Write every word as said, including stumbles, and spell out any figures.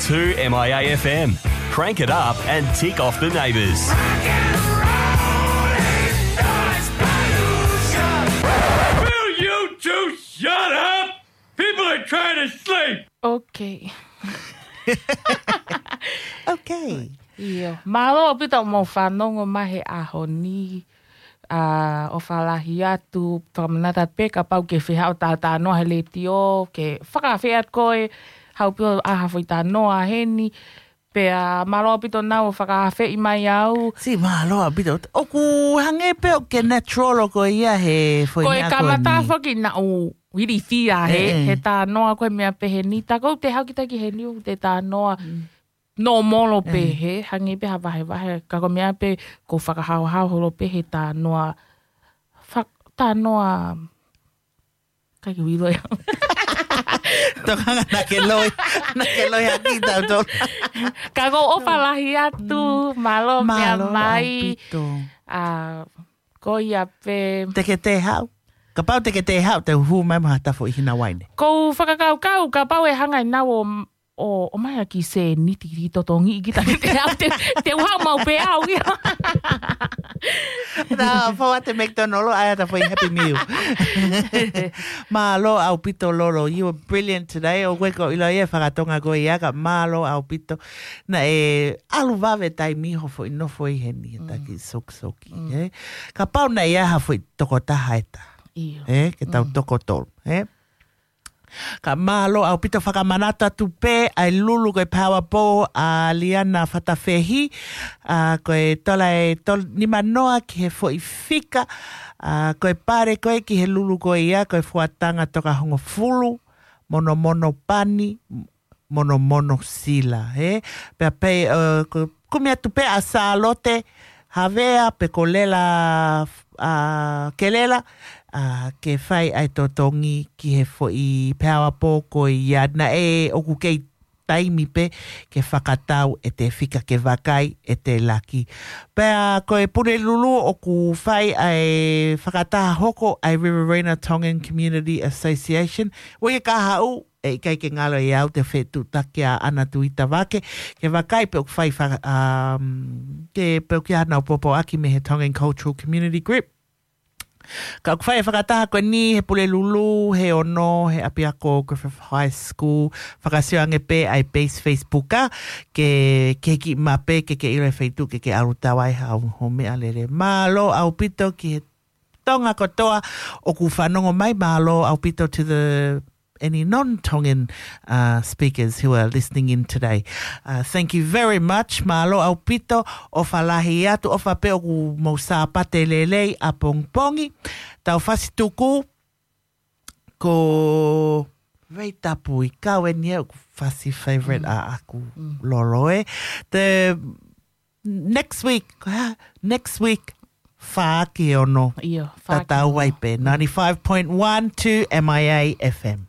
Two M I A F M. Crank it up and tick off the neighbours. Will you two shut up? People are trying to sleep. Okay. Okay. ʻIo. Mālō ʻaupito hoʻomou fanongo mai he ʻaho ni. ʻA, ʻofa lahi atu, fakamanatu pē kapau ʻoku ke fie haʻu ʻo talanoa he letiō, ke fakaafeʻi atu koe, haʻu pē ʻo ʻai ha foʻi talanoa heni. Pea mālō ʻaupito naʻa ke fakaafeʻi mai au. Siʻi mālō ʻaupito. ʻOku hangē pē ʻoku ke natural ʻo koe ia he foʻi meʻa ko eni. Ko e kamata foki naʻa ku ilifia he, ʻe, ʻe, he talanoa ko e meʻa pehē ni. Tā ko ʻeku te haʻu kita ki heni ʻoku te talanoa. Mm. Nōmolo pē he, hangē pē ha vahevahe. Ka ko e meʻa pē ʻoku ou fakahaohaoa holo pē he talanoa. Fak-, talanoa. ʻIkai ke u ʻilo ia. Tokanga naʻa ke loi. Naʻa ke loi ʻaki tautolu. Ka ʻoku ou ʻofa lahi atu, mālō meʻa mai. ʻAupito. ʻA, ko ia pē. Te ke te haʻu. Kapau te ke te haʻu, te u hū mai mo ha tafoʻi hina uaine. ʻOku ou fakakaukau, kapau ʻe hanga ʻe naua ʻo, ʻo, ʻomai ha kiʻi sēniti ki totongi ki ta te au, te, te u haʻu maʻu pē au ia. Nā, fou atu McDonald, ʻai atu ha foʻi Happy Meal. Mālō ʻaupito Lolo, you were brilliant today. ʻOku ʻikai ke u ʻilo ia e fakatonga ko ia ka mālō ʻaupito. Naʻe ʻalu vave taimi hoʻo foʻi nofo ʻi heni, he taki sokisoki, ē? Kapau naʻe ʻi ai ha foʻi tokotaha ʻe taha. ʻIo. Ē, ke tau toko tolu, ē? Ka mālō ʻaupito. Fakamanatu atu pē ʻa e lulu ko e Power Bowl ʻa Liana Fatafehi, ʻa, ko e tola e tol-, nima noa ki he foʻi fika, ʻa, ko e pale ko ē ki he lulu ko ia, ko e fuatanga toka hongofulu, monomono pani, monomono sila, ē? Pea pē, ʻa, ko, kumi atu pē ʻa Sālote Havea pe ko Lela, ʻa, Kelela, ʻa, ke fai ʻa e totongi ki he foʻi Power Bowl ko ia. Naʻe ʻoku kei taimi pē ke fakatau ʻete fika, ke vakai ʻete laki. Pea ko e Pulelulu ʻoku fai ʻa e fakataha hoko ʻa e Riverina Tongan Community Association. ʻOku ʻikai ke u haʻu, ʻe ʻikai ke ngalo ʻiate au te u fetuʻutaki ʻa ʻAna Tuita Vake, ke vakai pe ʻoku fai faka-, um, ke pe ʻoku ʻi ai haʻanau pōpoaki mei he Tongan Cultural Community Group. Ka ʻoku fai e fakataha ko eni he Pulelulu, he ono, he ʻapiako Griffith High School, fakasio ange pē ʻa e page Facebook ʻa, ke, ke kiʻi mape, ke ke ʻilo e feituʻu, ke ke ʻalu tau ai haʻo, haʻo meʻalele. Mālō ʻaupito ki he Tonga kotoa ʻoku fanongo mai, mālō ʻaupito to the any non-Tongan, uh, speakers who are listening in today. Uh, thank you very much. Mālō ʻaupito, ʻofa lahi atu, ʻofa pē ʻoku mou Sāpate lelei ʻapongipongi. Tau fasi tuku, ko Rei Tapu ʻi kau eni ʻoku fasi favorite ʻaʻaku Lolo, ē. The next week, ha, next week, fā ki he ono. ʻIo, fā ki he ono. Tatau ai pē. Ninety-five point one two M I A F M.